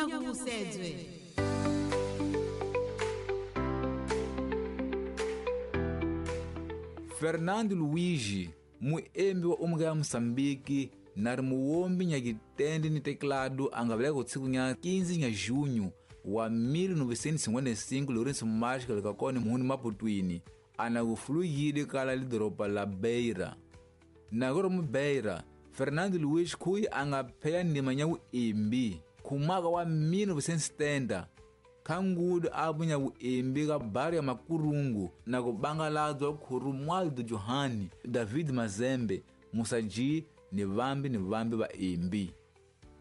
Nyakuvusedzwe. Fernando Luigi, muembi wa umuka ya Moçambique na ri muwombi nyakitende ni teclado a nga veleka kutsiku nya 15 nya junho wa 1955 Lourenço Marques leka kone muhuni Maputwini ana kufuluyile kala lidoropa la Beira. Nakoro mu Beira, Fernando Luiz khuyi a nga pheya ndima nya vuembi khumaka wa 1970 khangudu a vunya vuembi ka bari ya Makurungu na ku bangaladzwa Romualdo Johani, David Mazembe, Musa G ni vambi vaembi.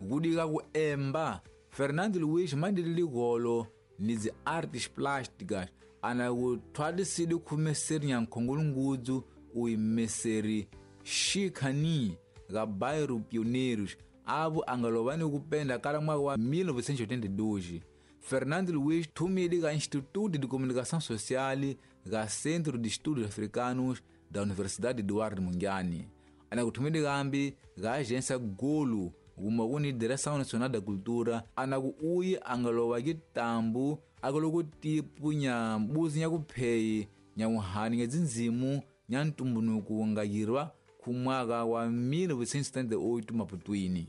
Kudika ku emba, Fernando Luiz mandile ligolo ni dzi artes plásticas ana ku thwalisile khumeseri nya nkhongolungudzu uyimeseri Xikhani ga bairro Pioneiros avo a nga lova ni ku penda kala mwaka wa 1982. Fernando Luiz thumile ka Instituto de Comunicação Social ga Centro de Estudos Africanos da Universidade Eduardo Mondlane. Ana kuthumile kambi ga Agência Golo kuma kuni Direção Nacional da Cultura ana ku uyi a nga lova kitambu akolo tipu nya mbuzi nya kupheyi nya wuhani nya dzindzimu nya ntumbunuku nga yirwa ku mwaka wa 1978 Maputwini.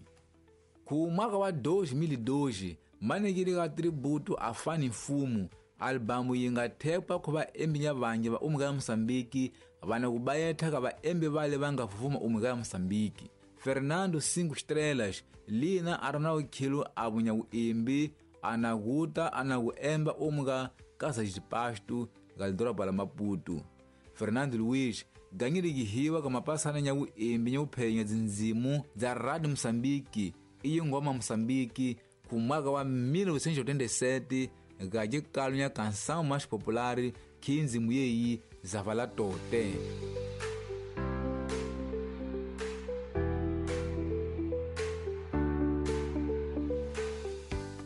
Ku mwaka wa 2002 manekile ka tributo a Fani Mfumo albamu yi nga thekwa ku vaembi nya vangi va umuka ya Moçambique vana ku bayetha ka vaembi vale va nga fuma umuka ya Moçambique. Fernando 5 Estrelas lina a ri na vukhilo a vunya vuembi ana kuta ana ku emba umuka Casa de Pasto ga lidoroba la Maputo. Fernando Luiz ganyile kihiwa ka mapasana nya vuembi nya vuphenya dzindzimu dza Radio Moçambique iyi ngoma Moçambique ku mwaka wa 1987 ga xikalo nya Canção Mais Popular khindzimu yeyi Zavala Tote.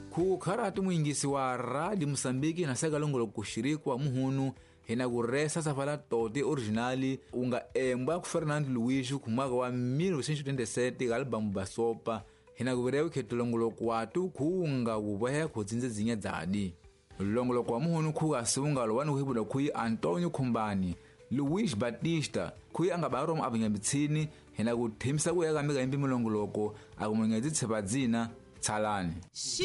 Ku kharati muingisi wa Radio Moçambique na sekalongolo kuxirikwa muhunu hina ku resa Zavala Tote originali u nga embwa ku Fernando Luiz ku mwaka wa 1987 ga albamu Basopa hina ku virewu khetulongoloko watu khunga kuvohe khutsinze dzinya dzadi. Longoloko wa muhunu khuka siungalo wani kuhibula khuyi Antonio Khumbani Luiz Batista khuyi a nga baromo avunyambitsini hina ku thimisa ku ya ka mika imbi milongoloko akumunyedzi tshepa dzina tsalani.